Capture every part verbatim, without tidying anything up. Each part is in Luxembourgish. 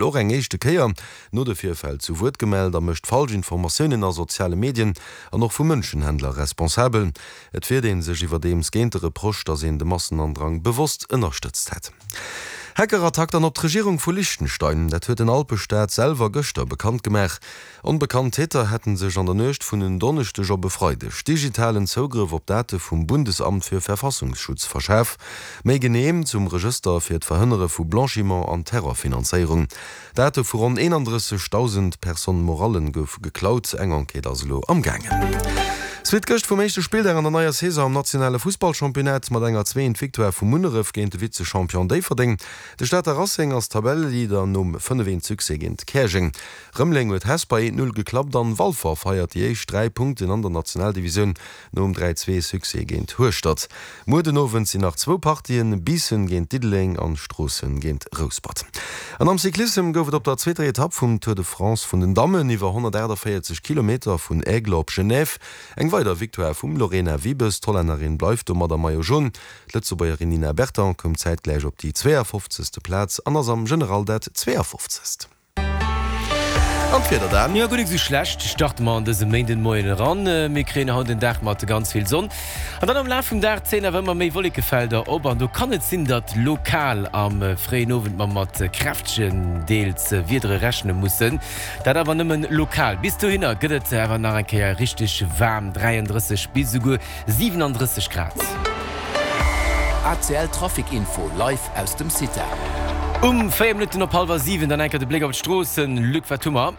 Och eng éischte Kéier no de Virfäll zu Wuert gemellt a mécht falsch Informatiounen a soziale Medien an och vu Mënschenhändler responsabel. Et wiert ee sech iwwerdeems géint de Reproche, datt een de Massenandrang bewosst ënnerstëtzt hätt. Hackerattack dann op d'Regierung vu Liechtenstein, dat huet den Alpestaat selwer gëschter bekannt gemaach. Onbekannt Täter hätte sech an der Nuecht vun en Donneschdeg op e Freideg digitalen Zougrëff op Date vum Bundesamt für Verfassungsschutz verschaf, méi genee zum Regëster fir d'Verhënnere vu Blanchiment an Terrorfinanzéierung. Date vu ronn eenandrësseg Dausend Personnes morallen goufe geklaut. Eng Enquête ass elo amgaangen. Suite gëscht vum éischte Spilldag an der neier Saison am nationale Fussballchampionnat mat enger zwee eent Victoire vu Munneref géint de Vize-Champion Déifferdeng. De Stater Racing ass Tabelleleader nom fënnef eent Succès géint Käerjeng. Rëmeleng huet Hesper eent Null geklappt an Walfer feiert déi éischt dräi Punkten an der Nationaldivisioun nom dräi zwee Succès géint Hueschtert. Muer den Owend sinn nach zwou Partien, Biissen géint Diddeleng an Stroossen géint Rouspert. An am Cyclissem gouf et op der zweeter Etapp vum Tour de France vun den Dammen iwwer honnertaachtavéierzeg Kilometer vun Aigle op Genève eng weider Victoire vum Lorena Wiebes. D'Hollännerin bleift domat am Maillot Jaune. D'Lëtzebuergerin Nina Berton koum zäitgläich op déi zweeafofzegste Plaz an ass am General dat zweeafofzegst. An d'Wieder dann? Jo, guer nik sou schlecht starte mer an dëse Méindenmoien eran. Mir kréien haut en Dag mat ganz vill Sonn an dann am Laf vum Dag zéien awer ëmmer méi Wollekefelder op an do kann et sinn, datt lokal am fréien Owend mer mat kräftegen, deels Wiedere rechne mussen. Dat awer nëmmen lokal. Bis dohinner gëtt et awer nach eng Kéier richteg waarm, dräiandrësseg bis esouguer siwenandrësseg Grad. A C L Trafic Info live aus dem CITA. Um véier Minutten op hallwer siwen dann enker de Bléck op d'Stroossen. Luc, wat hu mer?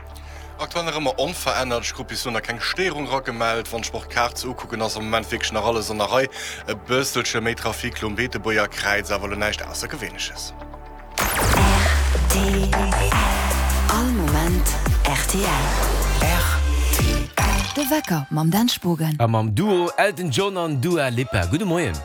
Aktuell nach ëmmer onverännert. Ech krut bis elo nach keng Stéierung eragemellt. Wann ech mer och d'Kaart sou ukucken, ass am Moment wierklech nach alles an der Rei. E bësselche méi Trafic lo um Beetebuerger Kräiz, awer elo näischt Aussergewéinleches. R T L. All Moment R T L. R T L. De Wecker mam Dan Spogen. A mam Duo Elton John an Dua Lipa. Gudde Moien.